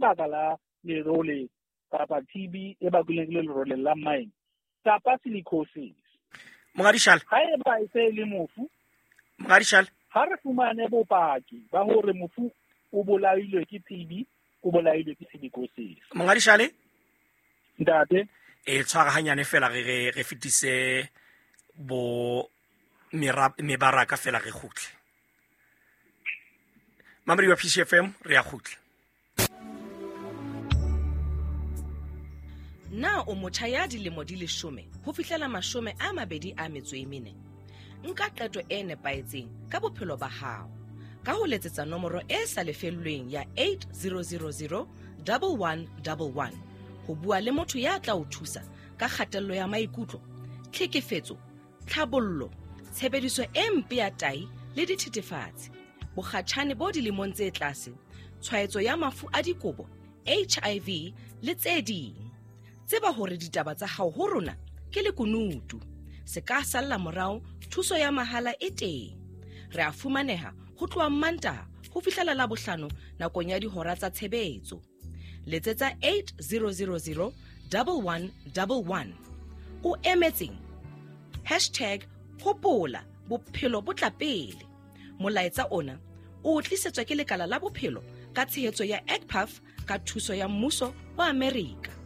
lebaka la lerole kapa TB e bakilweng ke lerole la mine kapa silicosis. Monghadi Shale. Ha eba e se e le mofu, Monghadi Shale. Ha re fumane bopaki ba hore mofu o bolailwe ke TB, o bolailwe ke silicosis. Monghadi Shale. Ntate. E tshwara hanyane fela re re re fetise bo mebaraka fela re kgutle. Mamedi wa PCFM re ya kgutla. Na o motjha ya dilemo di leshome ho fihlela 24 Nka qeto e nepahetseng ka bophelo ba hao ka ho letsetsa nomoro e sa lefellweng ya 8000 1111 ho bua le motho ya tla o thusa ka kgatello ya maikutlo, tlhekefetso, tlhabollo, tshebediso e mpe ya tai le dithethefatsi, bokgatjhane bo dilemong tse tlase, tshwaetso ya mafu a dikobo, HIV le tse ding. Tseba hore ditaba tsa hao ho rona ke lekunutu. Se ka salla morao, thuso ya mahala e teng. Re a fumaneha ho tloha Mmantaha ho fihlela Labohlano nakong ya dihora tsa tshebetso. Letsetsa 8000 1111. O emetseng? Hashtag hopola bophelo bo tla pele. Molaetsa ona o tlisetswa ke lekala la bophelo ka tshehetso ya ECPAF ka thuso ya mmuso wa Amerika.